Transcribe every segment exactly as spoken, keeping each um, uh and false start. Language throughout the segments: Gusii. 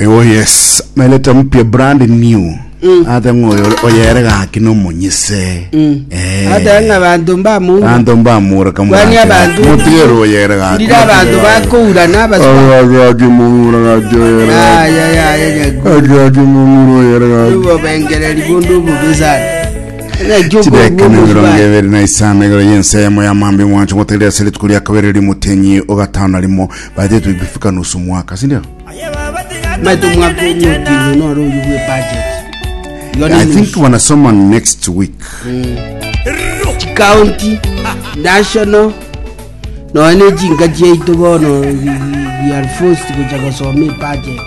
Oh yes, meleta mpya, brand new. Ate ng'oyo oyere gaki nomonyise. Eh. Ate ng'a banto mbamoura. Banto mbamura. Kwani abantu- Mutigere oyere gaki. Ndire abanto bakoura n'abasuba. Gaki mumura gaki oyere gaki. Aya aya nyaku. Gaki gaki mumura oyere gaki. Obobengereri bonde obobe sana. Naki Chideka okoigwa mirongo omosubati. ebere na isano igoro y'ensemo ya mambi mwancho motegerera ase rituko ria kabere rimutenyi ogatano na rimo baadhi tukifika nusu mwaka, si ndio? Maito mwaka omotingo noro oyu bwe budget. Igo ni I think nusu. wanasoma next week. County, national, nonya ne chinka chiaito bono we we are forced gocha gosoma ebudget.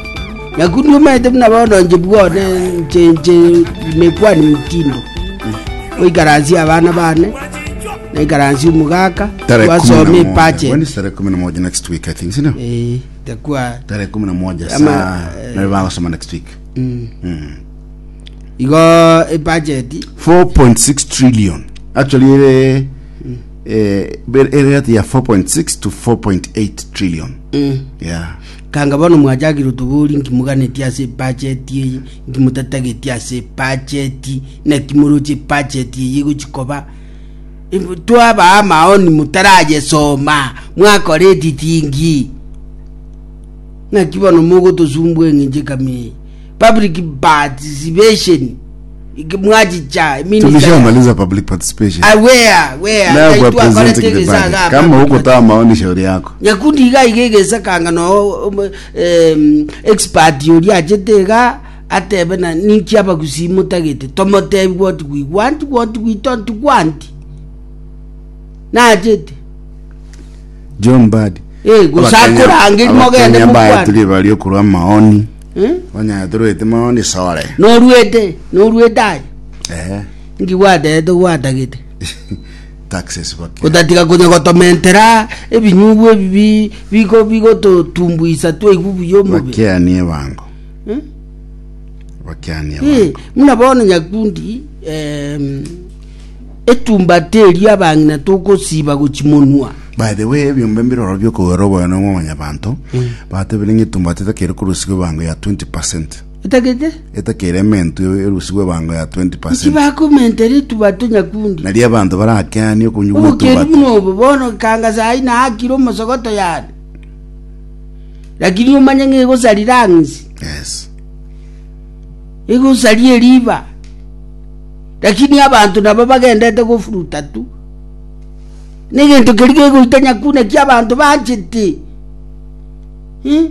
Nyakundi omaete buna bono inche bwone nche nche imekuwa ni mtindo oikaransi abana bane naikaransi omogaka Tarehe kumi na twasoma moja. ebudget. When is tarehe kumi na moja next week, I think, si ndio? Eh, itakuwa Tarehe kumi na moja Ama, saa na wanasoma next week. igo ebudget four point six trillion actually, ere eh ere yati ya four point six to four point eight trillion. Yeah. Kanga bono mwachakire tobori nkimuganeti ase ebudget eye, nkimutatageti ase ebudget, naki moroche ebudget eye egochikoba. Twabaa maoni mutarayesoma mwakora editingi. Ng'aki bono mogotosumbua eng'encho ekami public participation Iki mwachicha minister. Tulishamaliza public participation. Ah, where where Now we're Twakorete presenting the egesaga budget. Kama hukutoa maoni, shauri yako. Nyakundi iga iga egesakanga no um, em, expert oria achete iga atebe na ninki abagusii motagete tomotebi what we want, what we don't want, nachete. John Bad. Eh, gose akorangeria mogende mokwane. Tuli bali okurwa maoni. Eh? Onya turwete maoni sore. Norwete norwete aye. Eh. Nki gwatete gwatagete? Taxes bake. Gotatiga konya gotomentera ebinyugwa ebi biko bigototumbuisa twaigwa buya omobe. Bakianie bango. Eh? Bakianie Eh, bango. muna bono nyakundi em, etumbate eri abang'ina tokosiba gochimonwa. By the way, ebyombe mbiroro byokogera oboyo nomwamanya banto batebire ng'a etumbate etakere korusigwa ebango ya twenty percent. Etagete Etakere ementu erusigwa ebango ya twenty percent. Nkibakomentera etubato nyakundi. Nari abanto barakeania okunywa Obokeri etumbate. buno obo bono kanga sai naakire omosogoto yane lakini omanye ng'a egosarira ang'isi. Yes. Egosaria eriba lakini abanto nabo bagendete gofuruta tu negento keri kegoita nyakuna ki abanto banchete. Hmm?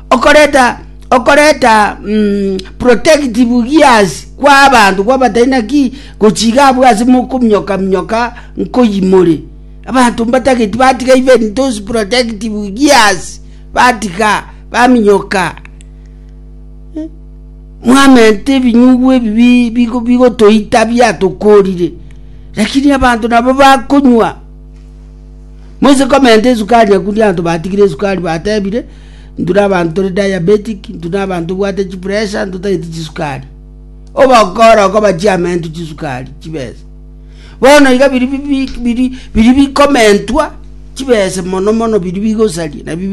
Okoreta okoreta mm, protective gears kwa abanto kwabatai naki gochiga abwo ase mokominyoka minyoka nkoyimore abanto mbatageti batiga even those protective gears batiga baminyoka. Mwamente ebinyugwa ebi bi- bigo- bigotoita biatokorire lakini abanto nabo bakonywa moise komenta esukari nyakundi abanto batigire esukari batebire ntuna abanto tore diabetic ntuna abanto bwate chipressure ntotagete chisukari obokora okoba chiamentu chisukari chibesa bono iga biri bi- biri biri bikomentwa chibesa mono mono biri bigosaria nabio.